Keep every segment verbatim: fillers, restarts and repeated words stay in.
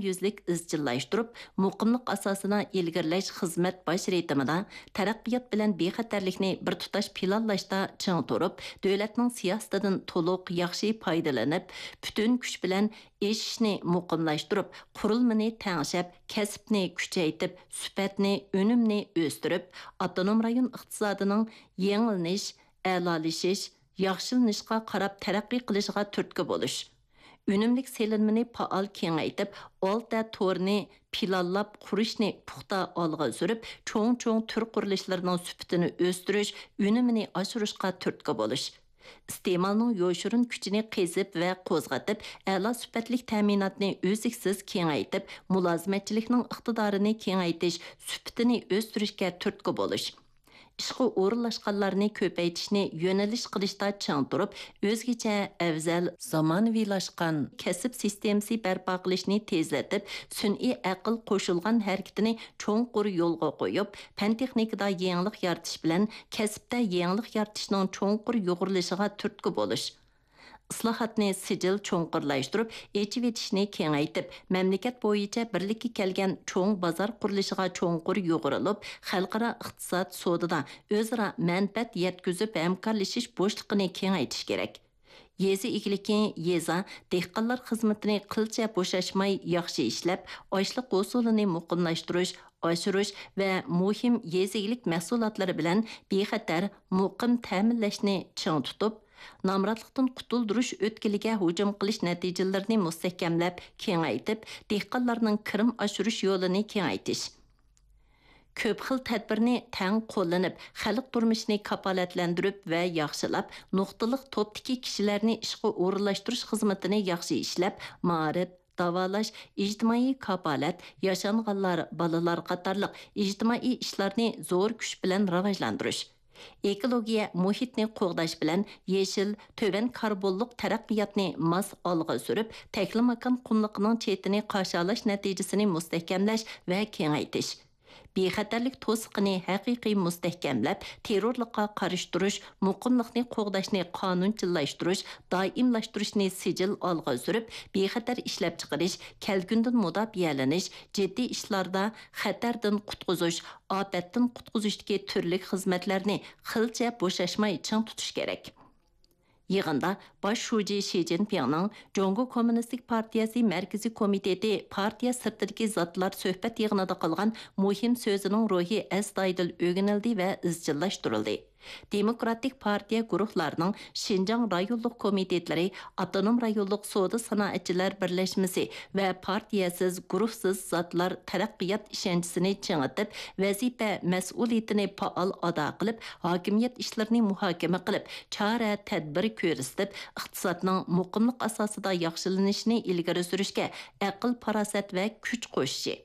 يۈزلۈك ئىزچىللاشتۇرۇپ، مۇقىملىق ئاساسىدا ئىلگىرىلەش خىزمەت باش رىتىمىدا تەرەققىيات بىلەن بىخەتەرلىكنى بىر تۇتاش پىلانلاشتا چىڭ تۇرۇپ، دۆلەتنىڭ سىياسىتىدىن تولۇق ياخشى پايدىلىنىپ، پۈتۈن كۈچ بىلەن ئېشىشنى مۇقىملاشتۇرۇپ، قۇرۇلمىنى تەڭشەپ، كەسىپنى كۈچەيتىپ، سۈپەتنى، ئۈنۈمنى ئۆستۈرۈپ، ئاپتونوم رايون ئىقتىسادىنىڭ يېڭىلىنىش، ئەلالىشىش، ياخشىلىنىشقا قاراپ تەرەققىي قىلىشىغا تۈرتكە بولۇش. ئۈنۈملۈك سېلىنمىنى پائال كېڭەيتىپ، ئالتە تورىنى پىلانلاپ قۇرۇشنى پۇختا ئالغا سۈرۈپ، چوڭ-چوڭ تۈر قۇرۇلۇشلىرىنىڭ سۈپىتىنى ئۆستۈرۈش، ئۈنۈمىنى ئاشۇرۇشقا تۈرتكە بولۇش. ئىستېمالنىڭ يوشۇرۇن كۈچىنى قېزىپ ۋە قوزغىتىپ، ئەلا سۈپەتلىك تەمىناتنى ئۈزلۈكسىز كېڭەيتىپ، مۇلازىمەتچىلىكنىڭ ئىقتىدارىنى كېڭەيتىش، سۈپىتىنى ئۆستۈرۈشكە تۈرتكە بولۇش. ئىشقا ئورۇنلاشقانلارنى كۆپەيتىشنى يۆنىلىش قىلىشتا چىڭ تۇرۇپ، ئۆزگىچە، ئەۋزەل، زامانىۋىلاشقان كەسىپ سىستېمىسى بەرپا قىلىشنى تېزلىتىپ، سۈنئىي ئەقىل قوشۇلغان ھەرىكىتىنى چوڭقۇر يولغا قويۇپ، پەن-تېخنىكىدا يېڭىلىق يارىتىش بىلەن كەسىپتە يېڭىلىق يارىتىشنىڭ چوڭقۇر يۇغۇرۇلۇشىغا تۈرتكە بولۇش. ئىسلاھاتنى سىجىل چوڭقۇرلاشتۇرۇپ، ئېچىۋېتىشنى كېڭەيتىپ، مەملىكەت بويىچە بىرلىككە كەلگەن چوڭ بازار قۇرۇلۇشىغا چوڭقۇر يۇغۇرۇلۇپ، خەلقئارا ئىقتىساد سودىدا ئۆزئارا مەنپەئەت يەتكۈزۈپ، ھەمكارلىشىش بوشلۇقىنى كېڭەيتىش كېرەك. يېزا ئىگىلىكى، يېزا، دېھقانلار خىزمىتىنى قىلچە بوشاشماي ياخشى ئىشلەپ، ئاشلىق ھوسۇلىنى مۇقىملاشتۇرۇش، ئاشۇرۇش ۋە مۇھىم يېزا ئىگىلىك مەھسۇلاتلىرى بىلەن بىخەتەر، مۇقىم تەمىنلەشنى چىڭ تۇتۇپ، نامراتلىقتىن قۇتۇلدۇرۇش ئۆتكىلىگە ھۇجۇم قىلىش نەتىجىلىرىنى مۇستەھكەملەپ كېڭەيتىپ، دېھقانلارنىڭ كىرىم ئاشۇرۇش يولىنى كېڭەيتىش. كۆپ خىل تەدبىرنى تەڭ قوللىنىپ، خەلق تۇرمۇشىنى كاپالەتلەندۈرۈپ ۋە ياخشىلاپ، نۇقتىلىق توپتىكى كىشىلەرنى ئىشقا ئورۇنلاشتۇرۇش خىزمىتىنى ياخشى ئىشلەپ، مائارىپ، داۋالاش، ئىجتىمائىي كاپالەت، ياشانغانلار، بالىلار قاتارلىق ئىجتىمائىي ئىشلارنى زور كۈچ بىلەن راۋاجلاندۇرۇش. ئېكولوگىيە مۇھىتنى قوغداش بىلەن يېشىل، تۆۋەن كاربونلۇق تەرەققىياتنى ماس ئالغا سۈرۈپ، تەكلىماكان قۇملۇقىنىڭ چېتىنى قاشالاش نەتىجىسىنى مۇستەھكەملەش ۋە كېڭەيتىش. بىخەتەرلىك توسۇقىنى ھەقىقىي مۇستەھكەملەپ، تېررورلۇققا قارشى تۇرۇش، مۇقىملىقنى قوغداشنى قانۇنچىللاشتۇرۇش، دائىملاشتۇرۇشنى سىجىل ئالغا سۈرۈپ، بىخەتەر ئىشلەپچىقىرىش، كەلكۈندىن مۇداپىئەلىنىش، جىددىي ئىشلاردا خەتەردىن قۇتقۇزۇش، ئاپەتتىن قۇتقۇزۇشتىكى تۈرلۈك خىزمەتلەرنى قىلچە بوشاشماي چىڭ تۇتۇش كېرەك. يىغىندا باش شۇجى شى جىنپىڭنىڭ جۇڭگو كوممۇنىستىك پارتىيەسى مەركىزىي كومىتېتى پارتىيە سىرتىدىكى زاتلار سۆھبەت يىغىنىدا قىلغان مۇھىم سۆزىنىڭ روھى ئەستايىدىل ئۆگىنىلدى ۋە ئىزچىللاشتۇرۇلدى. دېموكراتىك پارتىيە گۇرۇھلارنىڭ شىنجاڭ رايونلۇق كومىتېتلىرى، ئاپتونوم رايونلۇق سودا سانائەتچىلەر بىرلەشمىسى ۋە پارتىيەسىز، گۇرۇھسىز زاتلار تەرەققىيات ئىشەنچىسىنى چىڭىتىپ، ۋەزىپە مەسئۇلىيىتىنى پائال ئادا قىلىپ، ھاكىمىيەت ئىشلىرىنى مۇھاكىمە قىلىپ، چارە تەدبىر كۆرسىتىپ، ئىقتىسادنىڭ مۇقىملىق ئاساسىدا ياخشىلىنىشىنى ئىلگىرى سۈرۈشكە ئەقىل-پاراسەت ۋە كۈچ قوشۇشى،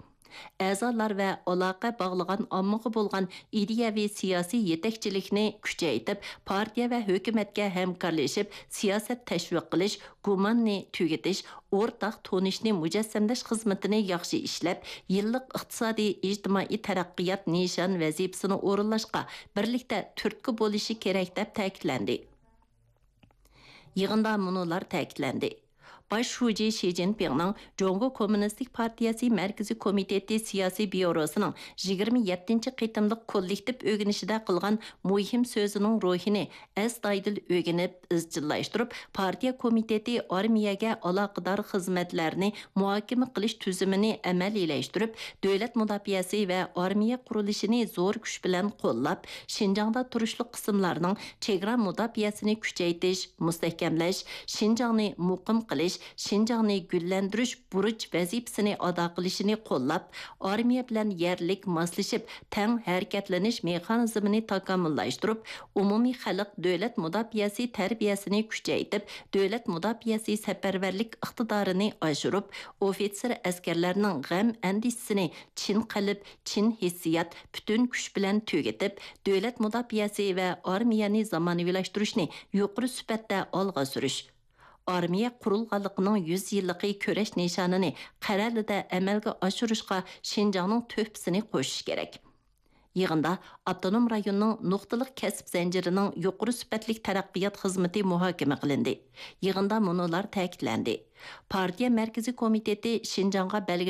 ئەزالار ۋە ئالاقە باغلىغان ئاممىغا بولغان ئىدىيەۋى سىياسىي يېتەكچىلىكنى كۈچەيتىپ، پارتىيە ۋە ھۆكۈمەتكە ھەمكارلىشىپ، سىياسەت تەشۋىق قىلىش، گۇماننى تۈگىتىش، ئورتاق تونۇشنى مۇجەسسەملەش خىزمىتىنى ياخشى ئىشلەپ، يىللىق ئىقتىسادىي، ئىجتىمائىي تەرەققىيات نىشان ۋەزىپىسىنى ئورۇنلاشقا بىرلىكتە تۈرتكە بولۇشى كېرەك، دەپ تەكىتلەندى. يىغىندا مۇنۇلار تەكىتلەندى. باش شۇجى شى جىنپىڭنىڭ جۇڭگو كوممۇنىستىك پارتىيەسى مەركىزىي كومىتېتى سىياسىي بيۇروسىنىڭ يىگىرمە يەتتىنچى قېتىملىق كوللېكتىپ ئۆگىنىشىدە قىلغان مۇھىم سۆزىنىڭ روھىنى ئەستايىدىل ئۆگىنىپ، ئىزچىللاشتۇرۇپ، پارتىيە كومىتېتى ئارمىيەگە ئالاقىدار خىزمەتلەرنى مۇھاكىمە قىلىش تۈزۈمىنى ئەمەلىيلەشتۈرۈپ، دۆلەت مۇداپىئەسى ۋە ئارمىيە قۇرۇلۇشىنى زور كۈچ بىلەن قوللاپ، شىنجاڭدا تۇرۇشلۇق قىسىملارنىڭ چېگرا مۇداپىئەسىنى كۈچەيتىش، مۇستەھكەملەش، شىنجاڭنى مۇقىم قىلىش، شىنجاڭنى گۈللەندۈرۈش بۇرچ ۋەزىپىسىنى ئادا قىلىشىنى قوللاپ، ئارمىيە بىلەن يەرلىك ماسلىشىپ، تەڭ ھەرىكەتلىنىش مېخانىزمىنى تاكامۇللاشتۇرۇپ، ئومۇمىي خەلق دۆلەت مۇداپىئەسى تەربىيەسىنى كۈچەيتىپ، دۆلەت مۇداپىئەسى سەپەرۋەرلىك ئىقتىدارىنى ئاشۇرۇپ، ئوفىتسېر ئەسكەرلەرنىڭ غەم ئەندىشىسىنى چىن قەلب، چىن ھېسسىيات، پۈتۈن كۈچ بىلەن تۈگىتىپ، دۆلەت مۇداپىئەسى ۋە ئارمىيەنى زامانىۋىلاشتۇرۇشنى يۇقىرى سۈپەتتە ئالغا سۈرۈش. ئارمىيە قۇرۇلغانلىقىنىڭ يۈز يىللىقى كۈرەش نىشانىنى قەرەلىدە ئەمەلگە ئاشۇرۇشقا شىنجاڭنىڭ تۆھپىسىنى قوشۇش كېرەك. يىغىندا ئاپتونوم رايوننىڭ نۇقتىلىق كەسىپ زەنجىرىنىڭ يۇقىرى سۈپەتلىك تەرەققىيات خىزمىتى مۇھاكىمە قىلىندى. يىغىندا مۇنۇلار تەكىتلەندى: پارتىيە مەركىزىي كومىتېتى شىنجاڭغا بەلگىلىك